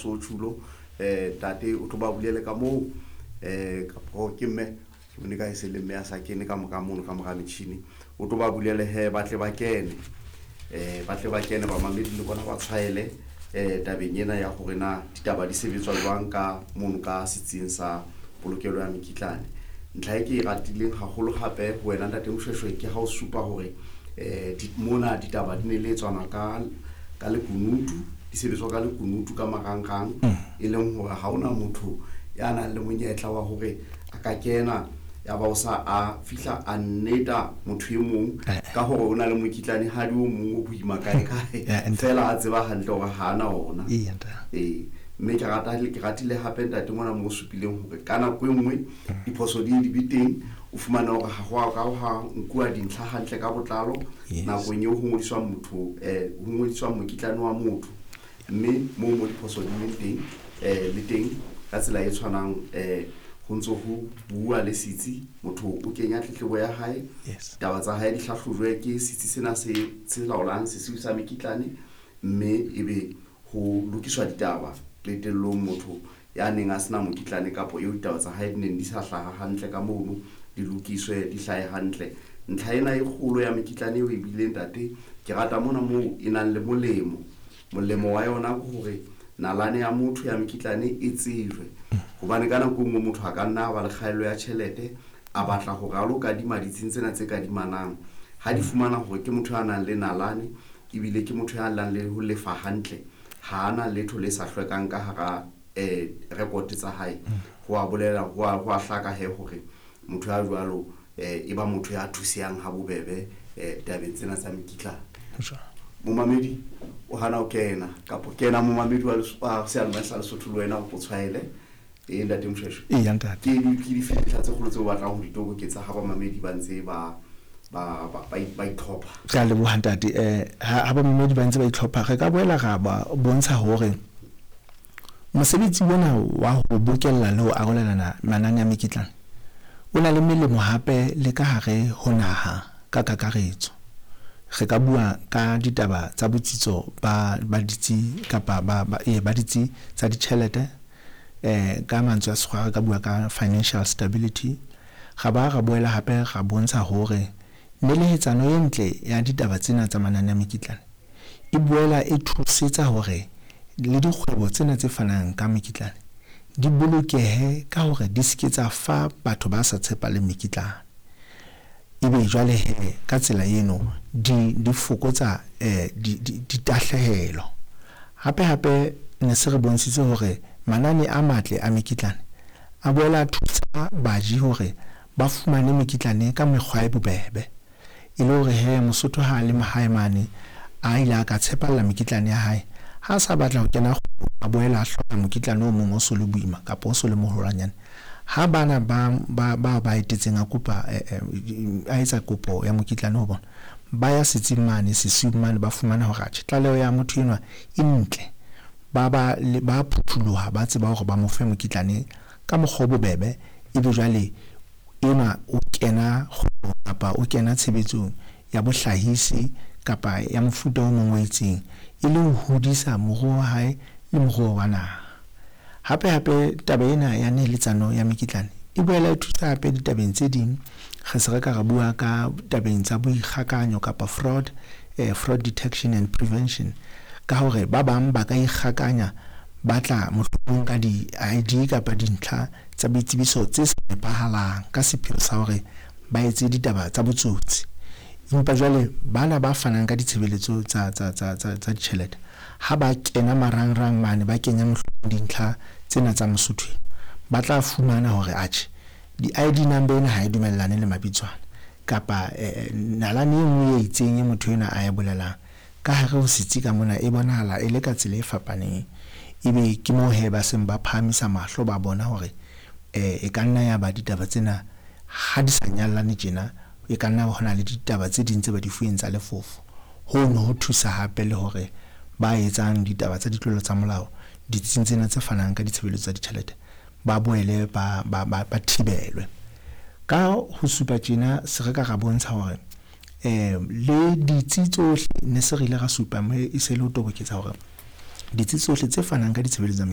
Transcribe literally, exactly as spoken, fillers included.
Sochulo. Eh ntate o tlo ba bulele ka moo, eh kapo ke mme ke bone ka e se le mme a sa kene ka moka mono ka mora metjhini, o tlo ba bulele he ba tle ba kene, eh ba tle ba kene bamamedi le bona ba tshwaele eh tabeng ena ya hore na ditaba di sebetswa jwang ka mono ka setsing sa polokelo ya mekitlane. Ntlha e ke e ratileng haholo hape ho wena ntate Moshweshwe ke ha o supa hore eh di, mona ditaba di ne le tswana ka, ka lekunutu, di sebetswa ka lekunutu ka marangrang, e leng hore ha hona motho ya nang le monyetla wa hore a ka kena ya ba o sa a fihla a nneta motho e mong ka hore o na le mokitlane hadi o mong o boima kae kae, fela a tseba hantle hore ha ana ona. Ee, mme ke rata ke ratile hape ntate mona mo supileng hore ka nako e nngwe diphoso di di be teng, o fumane hore ha ho a ka ha nkuwa dintlha hantle ka botlalo nakong eo ho ngodiswang motho, eh ho ngodiswang mokitlane wa motho, mme moo mo diphoso di leng teng, eh le teng ka tsela e tshwanang, eh ho ntso ho bua le setsi, motho o kenya tletlebo ya hae, taba tsa hae di hlahlojwe ke setsi sena se se laolang sesiu sa mekitlane, mme ebe ho lokiswa ditaba qetellong motho ya neng a sena mokitlane kapo eo ditaba tsa hae di neng di sa hlaha hantle ka mono di lokiswe di hlahe hantle. Ntlha ena e kgolo ya mekitlane eo e bileng ntate, ke rata mona moo e nang le molemo. Molemo wa yona ke hore nalane ya motho ya mekitlane e tsejwe, hobane ka nako e nngwe motho a ka nna a ba le kgaello ya tjhelete, a batla hore a lo kadima ditsing tsena tse kadimanang. Ha di fumana hore ke motho ya nang le nalane ebile ke motho ya nang le ho lefa hantle, ha ana letho le sa hlwekang ka hara eh record tsa hae, ho a bolela ho a ho a hlaka he hore motho ya jwalo eh e ba motho ya thusehang ha bobebe eh tabeng tsena tsa mekitlane. Momamedi o hana ho kena kapo kena momamedi wa wa seyalemoya sa Lesotho le wena o tshwaele. E ntate Moshweshwe, Eya ntate. ke di ke dife dintlha tse kgolo tseo o batlang ho di toboketsa ha bamamedi ba ntse ba ba ba ba itlhopha? Ke a leboha ntate. Eh ha bamamedi ba ntse ba itlhopha, re ka boela ra ba bontsha hore mosebetsi ona wa ho bokella le ho arolelana manane a mekitlane o na le melemo hape le ka hare ho naha ka kakaretso. Re ka bua ka ditaba tsa botsitso ba ba ditsi kapa ba ba ba ditsi tsa ditjhelete, eh ka mantswe a sekgowa re ka bua ka financial stability. Ra ba ra boela hape ra bontsha hore nelehetsano e ntle ya ditaba tsena tsa manane a mekitlane e boela e thusetsa hore le dikgwebo tsena tse fanang ka mekitlane di bolokehe ka hore di se ke tsa fa batho ba sa tshepaleng mekitlane. Ebe jwale he ka tsela eno di di fokotsa eh di ditahlehelo. Hape hape ne se re bontshitse hore manane a matle a mekitlane a boela a thusa baji hore ba fumane mekitlane ka mekgwa e bobebe, e le hore he Mosotho ha le mahae mane a ile a ka tshepalla mekitlane ya hae, ha sa batla ho kena a boela a hloka mokitlane o mong o so le boima kapa o so le moholwanyane. Ha bana ba ba ba ba etetseng a kopa a etsa kopo ya mokitlane ho bona, ba ya setsing mane sesiung mane, ba fumana hore atjhe tlaleho ya motho enwa e ntle, ba ba ba phuthuloha, ba tseba hore ba mo fe mokitlane ka mokgwa o bobebe. Ebe jwale enwa o kena kapa o kena tshebetsong ya bohlahisi kapa ya mofuta o mong o itseng, e le ho hodisa moruo wa hae le moruo wa naha. Hape hape taba ena ya neheletsano ya mekitlane e boela e thusa hape ditabeng tse ding. Re se re ka ra bua ka tabeng tsa boikgakanyo kapa fraud, eh, fraud detection and prevention, ka hore ba bang ba ka ikgakanya ba tla mohlomong ka di-I D kapa dintlha tsa boitsebiso tse sa nepahalang ka sepheo sa hore ba etse ditaba tsa botsotsi. Empa jwale bana ba fanang ka ditshebeletso tsa tsa tsa tsa tsa ditjhelete, ha ba kena marangrang mane ba kenya mohlomong dintlha tsena tsa Mosotho, ba tla fumana hore atjhe di-I D number ena ha e dumellane le mabitswana kapa nalane e nngwe e itseng e motho enwa a e bolelang ka hare ho setsi ka mona e bonahala e le ka tsela e fapaneng. Ebe ke moo he ba seng ba phahamisa mahlo, ba bona hore eh e ka nna ya ba ditaba tsena ha di sa nyallane tjena, e ka nna hona le ditaba tse ding tse ba di fuweng tsa lefofo. Hono ho thusa hape le hore ba etsang ditaba tsa ditlolo tsa molao ditsing tsena tse fanang ka ditshebeletso tsa ditjhelete ba boele ba ba ba thibelwe. Ka ho supa tjena se re ka ra bontsha hore eh le ditsi tsohle ne se re ile ra supa mme e se le ho toboketsa hore ditsi tsohle tse fanang ka ditshebeletso tsa